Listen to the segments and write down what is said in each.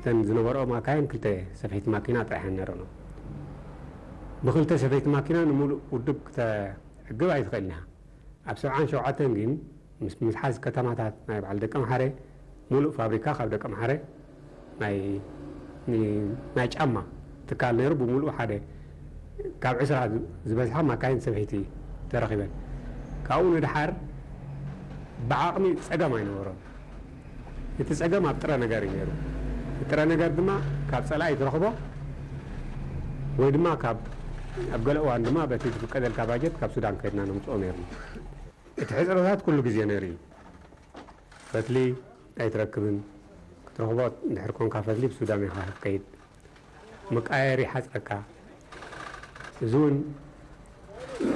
እተን ዝነበርኦ ማካይን ክልተ ሰፈይቲ ማኪና ጥራሕ እየን ነይረን። ብክልተ ሰፈይቲ ማኪና ንምሉእ ውድብ ክተዕግብ ኣይትኽእልን ኢኻ። ኣብ ሰብዓን ሸውዓተን ግን ምስ ምትሓዝ ከተማታት ናይ በዓል ደቀምሓረ፣ ሙሉእ ፋብሪካ ካብ ደቀምሓረ ናይ፣ ን-፣ ናይ ጫማ ትካል ነይሩ። ብምሉእ ሓደ ካብ ዕስራ ዝበዝሓ ማካይን ሰበይቲ ተረኺበን። ካብኡ ንድሓር ብዓቕሚ ጸገም ኣይነበሮን። እቲ ጸገም ኣብ ጥረ ነገር እዩ ነይሩ። እቲ ጥረ ነገር ድማ ካብ ጸላኢ ትረኽቦ ወይ ድማ ካብ፣ ኣብ ገለ እዋን ድማ በቲ ዝፍቀደልካ ባጀት ካብ ሱዳን ከድና ነምጽኦ ነይርና። እቲ ሕጽረታት ኩሉ ግዜ ነይሩ እዩ። ፈትሊ ኣይትረክብን። ክትረኽቦ እንድሕር ኮንካ ፈትሊ ብሱዳን ኢኻ ክትከይድ። መቃየሪ ይሓጽረካ። እዚ እውን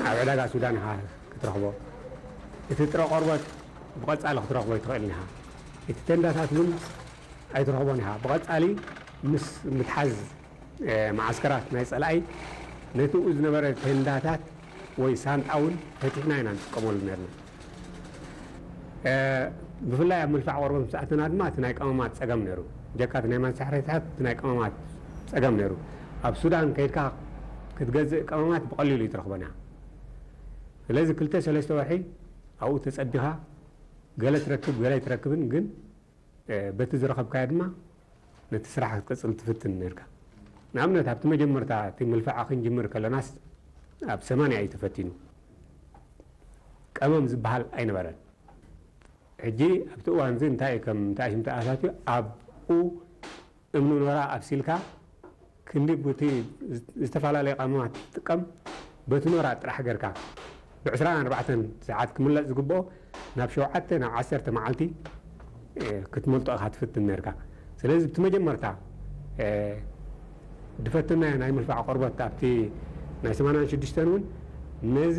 ኣብ ዕዳጋ ሱዳን ኢኻ ክትረኽቦ። እቲ ጥረ ቆርበት ብቐጻሊ ክትረኽቦ ኣይትኽእልን ኢኻ። እቲ ቴንዳታት እውን ኣይትረኽቦን ኢኻ። ብቐጻሊ ምስ ምትሓዝ፣ እ፣ መዓስከራት ናይ ጸላኢ ነቲ ኣብኡ ዝነበረ ቴንዳታት ወይ ሳንጣ እውን ፈቲሕና ኢና ንጥቀመሉ ነርና። እ፣ ብፍላይ ኣብ ምልፋዕ ቆርበት ምስ ኣተና ድማ እቲ ናይ ቀመማት ጸገም ነይሩ። ጀካ እቲ ናይ መሳርሒታት እቲ ናይ ቀመማት ጸገም ነይሩ። ኣብ ሱዳን ከይድካ ክትገዝእ ቀመማት ብቐሊሉ ኣይትረኽቦን ኢኻ። ስለዚ ክልተ ሰለስተ ወርሒ ኣብኡ ተጸቢኻ ገለ ትረክብ ገለ ኣይትረክብን፣ ግን፣ እ፣ በቲ ዝረኸብካዮ ድማ ነቲ ስራሕ ክትቅጽል ትፍትን ነርካ። ንኣብነት ኣብቲ መጀመርታ እቲ ምልፋዕ ክንጅምር ከለናስ ኣብ ሰማንያ እዩ ተፈቲኑ። ቀመም ዝበሃል ኣይነበረን። ሕጂ ኣብቲ እዋን እዚ እንታይ እዩ ከም ተኣሽም ተኣታትዩ ኣብኡ እምኒ ኖራ ኣብሲልካ ክንዲ ቡቲ ዝተፈላለየ ቀመማት ትጥቀም በቲ ኖራ ጥራሕ ገርካ ብዕስራን ኣርባዕተን ሰዓት ክምለጥ ዝግብኦ ናብ ሸውዓተ ናብ ዓሰርተ መዓልቲ፣ እ፣ ክትመልጦ ኢኻ ትፍትን ነርካ። ስለዚ ብቲ መጀመርታ፣ እ፣ ዝፈተናዮ ናይ ምልፋዕ ቆርበት ኣብቲ ናይ ሰማንያን ሽዱሽተን እውን ነዚ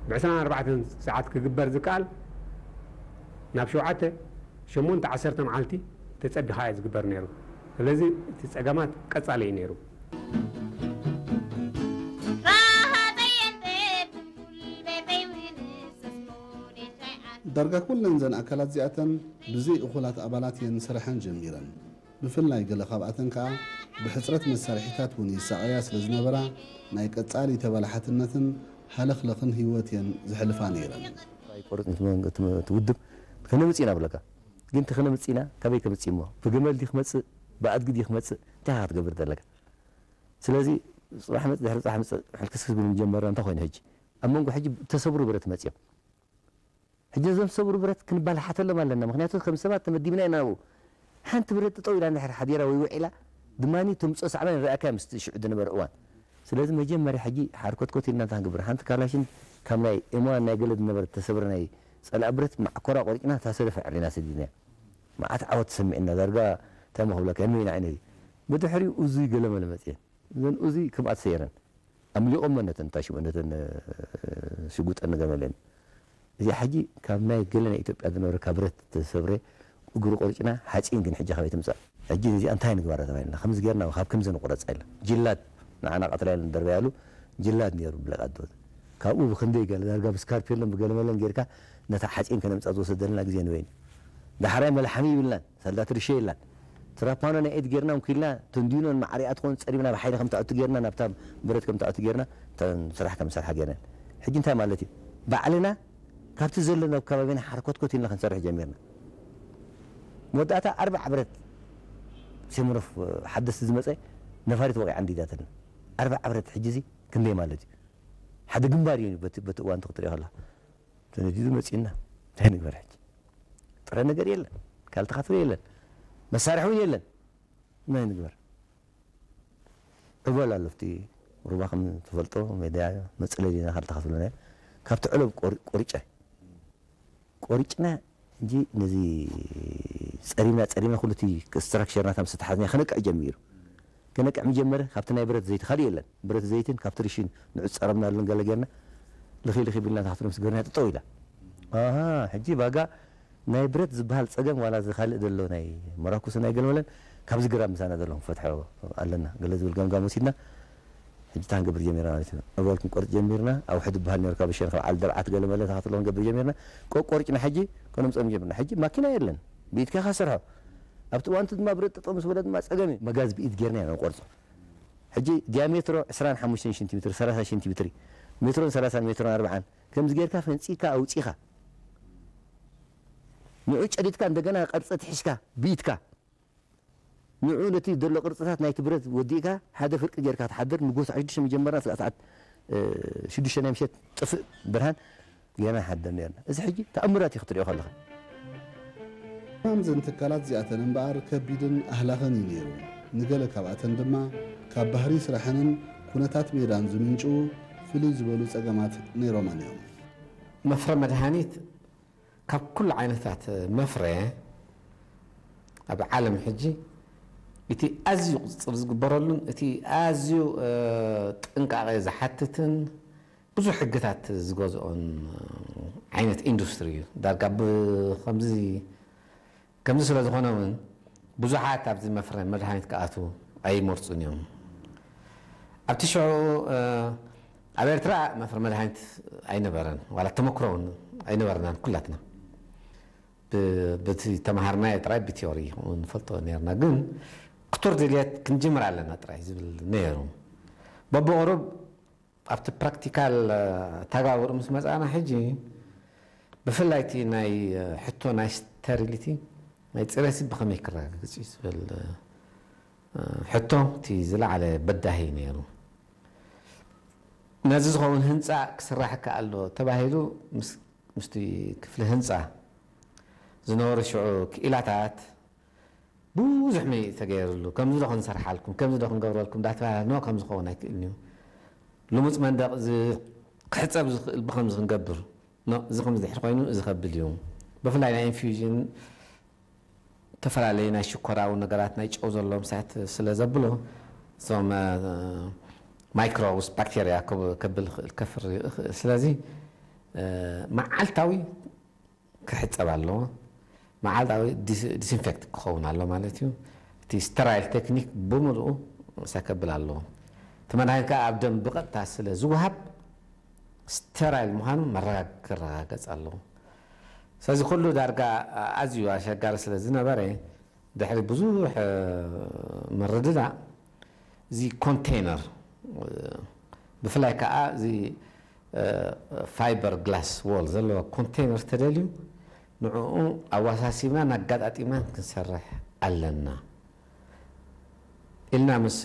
ብዕስራን ኣርባዕተን ሰዓት ክግበር ዝከኣል ናብ ሸውዓተ ሸሞንተ ዓሰርተ መዓልቲ ተጸቢኻ እዩ ዝግበር ነይሩ። ስለዚ እቲ ጸገማት ቀጻሊ እዩ ነይሩ። ዳርጋ ኩለን እዘን ኣካላት እዚኣተን ብዘይ እኹላት ኣባላት እየን ስርሐን ጀሚረን። ብፍላይ ገለ ካብኣተን ከኣ ብሕጽረት መሳርሒታት እውን ይሳቐያ ስለ ዝነበራ ናይ ቀጻሊ ተበላሓትነትን ሃለኽለኽን ህይወት እየን ዘሕልፋ ነይረን። ኣይቆርጽ እቲ ውድብ ከነምጽእ ኢና ብለካ። ግን እቲ ከነምጽእ ኢና ካበይ ከምጽእ እሞ ብገመል ድዩ ክመጽእ ብኣድጊ ድዩ ክመጽእ እንታይ ኢኻ ክትገብር ዘለካ? ስለዚ ጽባሕ መጽእ ድሕሪ ጽባሕ መጽእ ሕልክስክስ ብል ምጀመርና እንታይ ኮይኑ ሕጂ ኣብ መንጎ ሕጂ ተሰብሩ ብረት መጽዮም ሕጂ ነዞም ዝሰብሩ ብረት ክንባላሓተሎም ኣለና። ምክንያቱ ከም ሰባት ተመዲብና ኢና ናብኡ። ሓንቲ ብረት ጠጠው ኢላ እንድሕር ሓዲራ ወይ ውዒላ ድማ ተምጽኦ ሳዕባን ንርኣካ ምስቲ ሽዑ ዝነበረ እዋን። ስለዚ መጀመርያ ሕጂ ሓርኮትኮት ኢልና እንታይ ክንገብር ሓንቲ ካላሽን ካብ ናይ ኤምዋን ናይ ገለ ዝነበረ ተሰብረ ናይ ጸላኢ ብረት ማዕኮራ ቆሪጭና እታ ሰደፍ ኣዕሪና ሰዲድናያ። መዓት ዓወት ተሰሚዕና ዳርጋ እንታይ እሞ ክብለካ የንመይና ዓይነይ ብድሕሪኡ እዙይ ገለመለ መጽየን እዘን እዙይ ከምኣ ተሰየረን ኣምሊቖመን ነተን እንታይ ሽሙ ነተን ሽጉጠን ንገመለን እዚኣ ሕጂ ካብ ናይ ገለ ናይ ኢትዮጵያ ዝነበረ ካብ ብረት ተሰብረ እግሩ ቆርጭና ሓፂን ግን ሕጂ ካበይ ትምፃእ ሕጂ እዚኣ እንታይ ንግባራ ተባሂልና ከምዚ ጌርና ካብ ከምዚ ንቁረፃ ኢልና ጅላድ ንዓና ቀትላ ኢለን ደርበያሉ ጅላድ ነይሩ ብለቃ ዶ ካብኡ ብክንደይ ገለ ዳርጋ ብስካርፔሎን ብገለመለን ጌርካ ነታ ሓፂን ከነምፃ ዝወሰደልና ግዜ ንበይኑ ዳሕራይ መልሓሚ ይብልናን ሰልዳት ርሸ የላን ትራፓኖ ናይ ኤድ ጌርና እንኩልና ተንዲኖን ማዕሪኣ ትኾን ፀሪብና ብሓይሊ ከም ተኣቱ ጌርና ናብታ ብረት ከም ተኣቱ ጌርና እተን ስራሕ ከም ሰርሓ ጌርና ሕጂ እንታይ ማለት እዩ ባዕልና ካብቲ ዘሎ ናብ ከባቢና ሓርኮትኮት ኢልና ክንሰርሕ ጀሚርና መወዳእታ ኣርባዕ ብረት ሴምኖፍ ሓደስቲ ዝመፀ ነፋሪት ወቂዓ እንዲዳትልና ኣርባዕ ብረት ሕጂ እዚ ክንደይ ማለት እዩ ሓደ ግንባር እዩ በቲ እዋን ክትሪኦ ከላ ተነዲዱ መፂና እንታይ ንግበር ሕጂ ጥረ ነገር የለን ካልተኻፍሎ የለን መሳርሒ እውን የለን ናይ ንግበር ዕበል ኣሎ ኣብቲ ሩባ ከም ትፈልጦ ሜዳ መፅለል ኢና ካልተኻፍሎ ናይ ካብቲ ዕለብ ቆሪጨ ቆሪጭና እንጂ ነዚ ፀሪምና ፀሪምና ኩሉ እቲ ስትራክቸር ናታ ምስ ተሓዝና ከነቅዕ ጀሚሩ ከነቅዕ ምጀመረ ካብቲ ናይ ብረት ዘይቲ ካልእ የለን ብረት ዘይትን ካብቲ ርሽን ንዑ ዝፀረምናሉን ገለ ጌርና ልኺ ልኺ ቢልና ታሕቲ ምስ ገርና ጠጠው ኢላ ኣሃ ሕጂ ባጋ ናይ ብረት ዝበሃል ፀገም ዋላ እዚ ካልእ ዘሎ ናይ መራኩስ ናይ ገልመለን ካብዚ ግራብ ምሳና ዘሎ ክንፈትሖ ኣለና ገለ ዝብል ገምጋም ወሲድና ሕጂ እንታይ ክንገብር ጀሚርና ማለት እዩ ዕበል ክንቆርፅ ጀሚርና ኣውሕድ ዝበሃል ነሩ ካብ ሸን ካብ ዓል ደብዓት ገለመለ ታክትሎ ክንገብር ጀሚርና ቆቆርጭና ሕጂ ከነምፀም ጀሚርና ሕጂ ማኪና የለን ብኢድካ ኢኻ ሰርሖ ኣብቲ እዋንቲ ድማ ብረት ጠጠው ምስ በለ ድማ ጸገም እዩ። መጋዝ ብኢድ ጌርና ኢና ንቆርጾ። ሕጂ ዲያሜትሮ ዕስራን ሓሙሽተን ሴንቲሜትር፣ ሰላሳ ሴንቲሜትር እዩ። ሜትሮን ሰላሳን ሜትሮን ኣርባዓን ከምዚ ጌርካ ፈንጺካ ኣውጺኻ ንዑ ጨዲድካ እንደገና ቅርጺ ትሕሽካ ብኢድካ ንዑ ነቲ ዘሎ ቅርጽታት ናይቲ ብረት ወዲእካ ሓደ ፍርቂ ጌርካ ትሓድር። ንጎ ሰዓት ሽዱሽተ መጀመርና ስጋዕ ሰዓት ሽዱሽተ ናይ ምሸት ጥፍእ ብርሃን ጌና ሓደር ነርና። እዚ ሕጂ ተኣምራት እዩ ክትሪኦ ከለኻ። እማም ዘን ትካላት እዚኣተን እምበኣር ከቢድን ኣህላኸን እዩ ነይሩ። ንገለ ካብኣተን ድማ ካብ ባህሪ ስራሐንን ኩነታት ሜዳን ዝምንጭዉ ፍልይ ዝበሉ ጸገማት ነይሮመን እዮም። መፍረ መድሃኒት ካብ ኩሉ ዓይነታት መፍረ ኣብ ዓለም ሕጂ እቲ ኣዝዩ ቁፅፅር ዝግበረሉን እቲ ኣዝዩ ጥንቃቐ ዝሓትትን ብዙሕ ሕግታት ዝገዝኦን ዓይነት ኢንዱስትሪ እዩ። ዳርጋ ብከምዚ ከምዚ ስለ ዝኾነ እውን ብዙሓት ኣብዚ መፍረ መድሃኒት ክኣትዉ ኣይመርፁን እዮም። ኣብቲ ሽዑ ኣብ ኤርትራ መፍረ መድሃኒት ኣይነበረን፣ ዋላ ተመክሮ እውን ኣይነበረናን ኩላትና። በቲ ተምሃርናዮ ጥራይ ብቲዮሪ ንፈልጦ ነርና፣ ግን ክቱር ድልየት ክንጅምር ኣለና ጥራይ ዝብል ነይሩ። በብቕሩብ ኣብቲ ፕራክቲካል ተጋብሩ ምስ መጻእና ሕጂ ብፍላይ እቲ ናይ ሕቶ ናይ ስተሪሊቲ ናይ ጽሬት ብኸመይ ክረጋገጽ እዩ ዝብል ሕቶ እቲ ዝለዓለ በዳሂ ነይሩ። ነዚ ዝኸውን ህንፃ ክስራሕ ይከኣል ዶ ተባሂሉ ምስቲ ክፍሊ ህንፃ ዝነበሩ ሽዑ ክኢላታት ብዙሕ ምይይጥ ተገይርሉ፣ ከምዚ ዶ ክንሰርሓልኩም፣ ከምዚ ዶ ክንገብረልኩም እንዳተባሃለ ኖ ከም ዝኸውን ኣይክእልን እዩ። ልሙፅ መንደቕ እዚ ክሕፀብ ዝኽእል ብከምዚ ክንገብር ኖ፣ እዚ ከምዚ ድሕር ኮይኑ እዚ ከብል እዩ። ብፍላይ ናይ ኢንፊውዥን ዝተፈላለዩ ናይ ሽኮራዊ ነገራት ናይ ጨው ዘለዎም ሳት ስለ ዘብሎ እዞም ማይክሮብስ ባክቴርያ ከብል ይኽእል ከፍሪ ይኽእል። ስለዚ መዓልታዊ ክሕፀብ ኣለዎ። መዓልታዊ ዲስኢንፌክት ክኸውን ኣሎ ማለት እዩ። እቲ ስተራይል ቴክኒክ ብምልኡ ሰከብል ኣለዎ። እቲ መድሃኒት ከዓ ኣብ ደም ብቐጥታ ስለ ዝወሃብ ስተራይል ምዃኑ መረጋግ ክረጋገፅ ኣለዎ። ስለዚ ኩሉ ዳርጋ ኣዝዩ ኣሸጋሪ ስለ ዝነበረ ድሕሪ ብዙሕ ምርድዳእ እዚ ኮንቴይነር ብፍላይ ከዓ እዚ ፋይበር ግላስ ዎል ዘለዎ ኮንቴይነር ተደልዩ ንዕኡ ኣወሳሲብና ኣጋጣጢምና ክንሰርሕ ኣለና ኢልና ምስ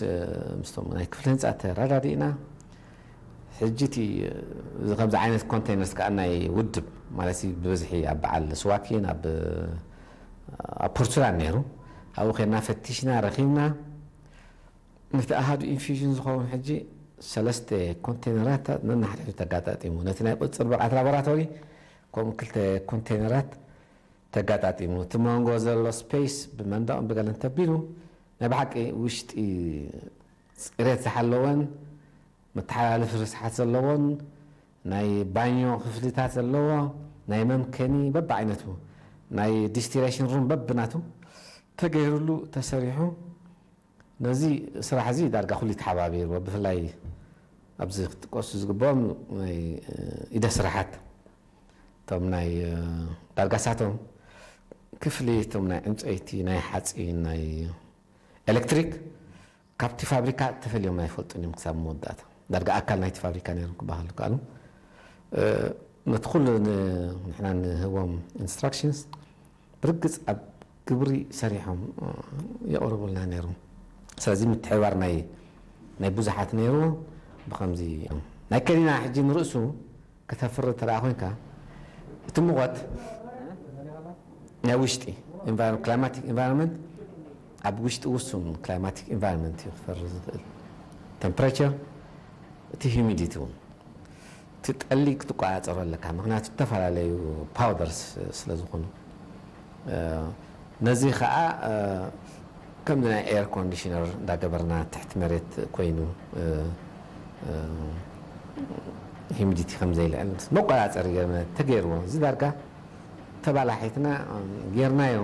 ምስቶም ናይ ክፍሊ ህንፃ ተረዳዲእና። ሕጂ እቲ እዚ ከምዚ ዓይነት ኮንቴይነርስ ከዓ ናይ ውድብ ማለት ብብዝሒ ኣብ በዓል ስዋኪን ኣብ ኣብ ፖርቹጋል ነይሩ። ኣብኡ ከድና ፈቲሽና ረኺብና። ነቲ ኣሃዱ ኢንፊውዥን ዝኸውን ሕጂ ሰለስተ ኮንቴይነራት ነናሕድሕዱ ተጋጣጢሙ። ነቲ ናይ ቁፅፅር ብቕዓት ላቦራቶሪ ከምኡ ክልተ ኮንቴይነራት ተጋጣጢሙ። እቲ መንጎ ዘሎ ስፔስ ብመንደቕን ብገለን ተቢሉ ናይ ብሓቂ ውሽጢ ፅሬት ዝሓለወን መተሓላለፊ ርስሓት ዘለዎን ናይ ባኞ ክፍልታት ዘለዎ ናይ መምከኒ በብዓይነቱ ናይ ዲስቲሌሽን ሩም በብናቱ ተገይሩሉ ተሰሪሑ። ነዚ ስራሕ እዚ ዳርጋ ኩሉ ተሓባቢርዎ። ብፍላይ ኣብዚ ክጥቀሱ ዝግብኦም ናይ ኢደ ስራሓት እቶም ናይ ዳርጋ ሳቶም ክፍሊ እቶም ናይ ዕንፀይቲ ናይ ሓፂን ናይ ኤሌክትሪክ ካብቲ ፋብሪካ ተፈልዮም ኣይፈልጡን እዮም ክሳብ መወዳእታ። ዳርጋ ኣካል ናይቲ ፋብሪካ ነይሮም ክበሃሉ ከኣሉ። ነቲ ኩሉ ንሕና ንህቦም ኢንስትራክሽንስ ብርግፅ ኣብ ግብሪ ሰሪሖም የቕርቡልና ነይሮም። ስለዚ ምትሕብባር ናይ ናይ ብዙሓት ነይሩ። ብከምዚ ናይ ከኒና ሕጂ ንርእሱ ከተፍሪ እንተ ደኣ ኮይንካ እቲ ሙቐት ናይ ውሽጢ climatic environment ኣብ ውሽጢ ውሱን climatic environment እዩ ክፈሪ ዝኽእል። temperature እቲ humidity እውን እቲ ጠሊ ክትቆፃፀሮ ኣለካ። ምክንያቱ ዝተፈላለዩ powders ስለ ዝኾኑ ነዚ ከዓ ከምዚ ናይ air conditioner እንዳገበርና ትሕቲ መሬት ኮይኑ humidity ከም ዘይልዕል መቆፃፀሪ ገርና ተገይርዎ እዚ ዳርጋ ተባላሒትና ጌርናዮ።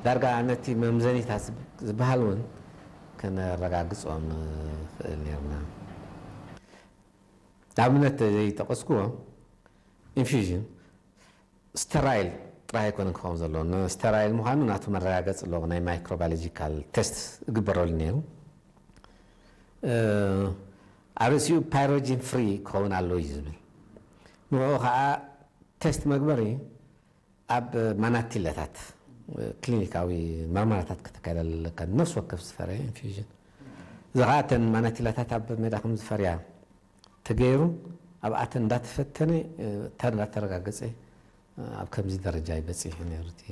ዳርጋ ነቲ መምዘኒታት ዝበሃል እውን ከነረጋግፆ ንኽእል ኔርና። ኣብነት ዘይጠቐስክዎ ኢንፊውዥን ስተራይል ጥራይ ኣይኮነን ክኸውን ዘለዎ፣ ንስተራይል ምዃኑ ናቱ መረጋገፂ ኣለዎ። ናይ ማይክሮባዮሎጂካል ቴስት እግበረሉ ነይሩ። ኣብ ርእሲኡ ፓይሮጂን ፍሪ ክኸውን ኣለዎ እዩ ዝብል። ንኡ ከዓ ቴስት መግበሪ ኣብ ማናቲለታት ክሊኒካዊ መርመራታት ከተካይደ ኣለካ። ነፍሲ ወከፍ ዝፈረየ ኢንፊውዥን፣ እዚ ከዓ እተን ማናቲለታት ኣብ ሜዳ ከም ዝፈርያ ተገይሩ፣ ኣብኣተን እንዳተፈተነ፣ እንዳተረጋገፀ፣ ኣብ ከምዚ ደረጃ ይበፅሕ ነይሩ እቲ